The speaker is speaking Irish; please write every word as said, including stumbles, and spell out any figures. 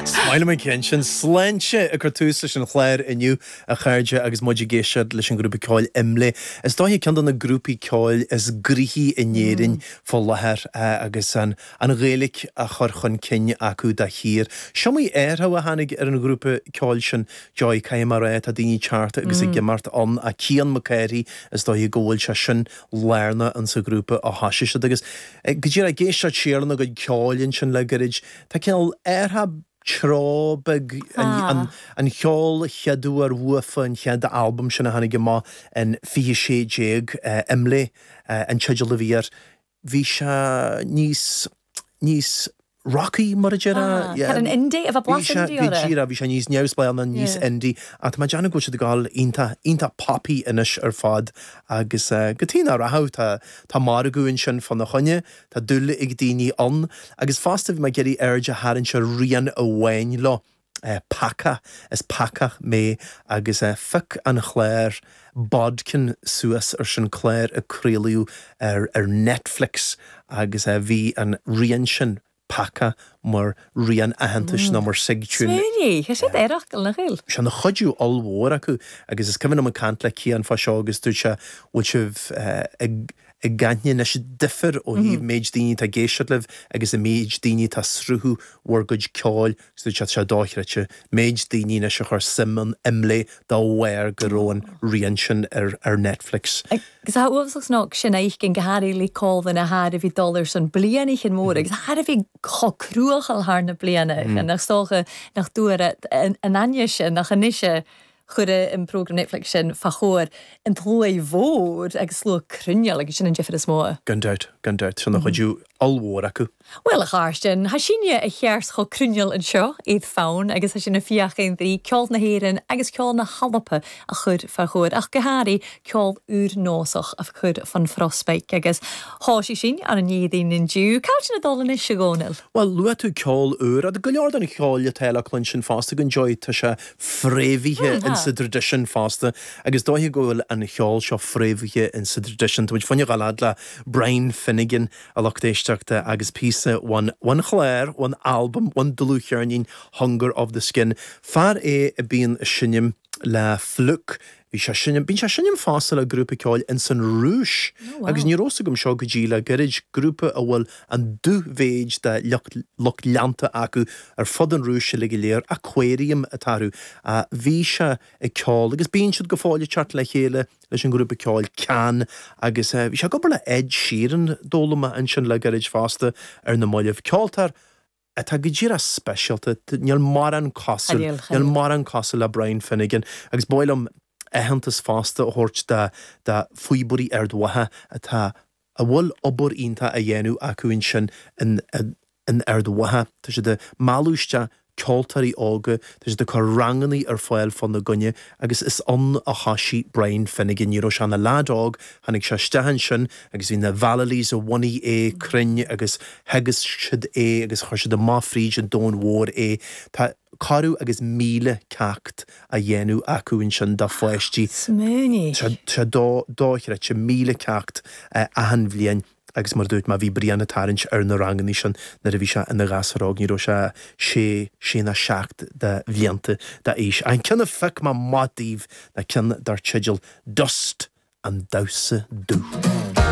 Is maith liom an ceann sin sláinte ag cur tús leis an chlár inniu a chairde agus muid ag éisteacht leis an grúpa ceoil Imlé. Is dóiche ceann de na grúpaí ceoil is gnoithí in Éirinn fá láthair agus an an Ghaeilge á chur chun cinn acu de shíor. Is iomaí athrú a tháinig ar an ghrúpa ceoil sin Joy caithfidh mé a rá tá daoine ag teacht agus ag imeacht ann ach Cian Mac Cárthaigh is dóiche go bhfuil sé sin lárnach insa ghrúpa ó thosaigh siad agus go díreach ag éisteacht siar lena gcuid ceoil ansin le gairid tá cineál athrú treo beag an an cheol chéad uair uafa an chéad albam sin a tháinig amach in fiche sé déag Imlé an teideal a bhí air. Bhí sé níos níos rocky mar a déarfá. Tá an indie a bheith blas indie orthu. Bhí bhí sé níos neamhspleáiche ná níos indie ach tá mé ag déanamh go bhfuil siad ag dul iontach iontach poppy anois ar fad agus go dtí nach rachadh tá tá margadh ansin fána choinne, tá dúil ag daoine ann agus fosta bhí mé ag iarraidh aird a tharraingt ar rian amháin leo. Peacach, is peacach mé agus phioc an clár Bodkin suas ar sin clár a craoladh ar ar Netflix agus bhí an rian sin Peacach mar rian aitheantais nó mar sig-tune. Smaoinigh, tá siad aerach go leor. Sé ina chuidiú ollmhór acu agus is cuimhin liom ag caint le Cian fá seo agus dúirt sé bhfuil sibh ag ag aithne anois difear ó thaobh méid daoine atá ag éisteacht libh agus an méid daoine atá ag sruthú bhur gcuid ceoil agus dúirt sé tá sé dochreidte méid daoine anois a chuir suim in Imlé dá bharr go raibh an rian sin ar ar Netflix. Agus tá uafásach sna sin fheicinn go háirithe le Colvin a thar a bhí dul ar son bliana chin mór agus thar a bhí chomh cruachal thar na bliana nach dócha nach dúradh an aithne sin nach anois a chuireadh an program Netflix sin fá chomhair an tslua mhór agus slua cruinneáil agus sin an difear is mó. Gan dabht, gan dabht, sin a chuidiú ollmhór acu. Bhuel, a Chairsten, tha sinne a cheart chomh cruinneáil anseo, iad fonn agus tha sinn a' fiachaint drí ceol na hÉireann agus ceol na hAlba a chur fá chomhair, ach go háirithe ceol úr-nósach a chur fan phrospaic agus thá sí sin ar an Éadaoin inniu. Cá bhfuil sin ag dul anois, a Dhónaill? Bhuel, luaigh tú ceol úr, agus go leor den cheol atá le cluinstin fosta go Joy, tá sé fréamhaithe in sa dtraidisiún fosta agus dóiche go bhfuil an cheol seo fréamhaithe in sa dtraidisiún. Tá muid fá choinne a ghabháil fhad le Brian Finnegan, a lucht éisteachta, agus píosa ón ón chlár, ón albam, ón dlúthcheirnín Hunger of the Skin. Fear é a bíonn ag seinm le Flook. Bhí sé seinm, bíonn sé seinm fosta le grúpa ceoil ins an Rúis agus ní raibh fhios agam seo go dtí le gairid, grúpa a bhfuil an dúmhéid de lucht lucht leanta acu ar fud an Rúis uilig go léir, Aquarium atá orthu. Bhí sé ag ceol agus bíonn siad go fóill ag teacht le chéile leis an ngrúpa ceoil Can agus bhí sé ag obair le Ed Sheeran, d'fhoghlaim mé ansin le gairid fosta ar na mallaibh. Ceoltóir atá go díreach speisialta, níl mórán cosúil, níl mórán cosúil le Brian Finnegan agus ba mhaith liom aitheantas fosta a thabhairt do do Phíobairí Ard Mhacha atá a bhfuil obair iontach á dhéanamh acu ansin in in Ard Mhacha. Tá siad ag mealladh isteach ceoltóirí óga, tá siad ag cur ranganna ar fáil fána gcoinne agus is ann a thoisigh Brian Finnegan. Ní raibh sé ina leaid óg, tháinig sé isteach ansin agus bhí na Vallelys a bhunaigh é cruinn agus theagasc siad é agus chuir siad amach fríd an domhan mhór é. Tá corradh agus míle ceacht á dhéanamh acu ansin do pháistí. Smaoinigh! Tá sé dochreidte, míle ceacht achan bhliain agus mar a dúirt mé bhí Brian ag tarraingt ar na ranganna sin nuair a bhí sé ina ghasúr óg, ní raibh sé sé, sé ná seacht de bhlianta d'aois. An ceann a phioc mé amach daoibh ná ceann dar teideal Dust, an Damhsa Dubh.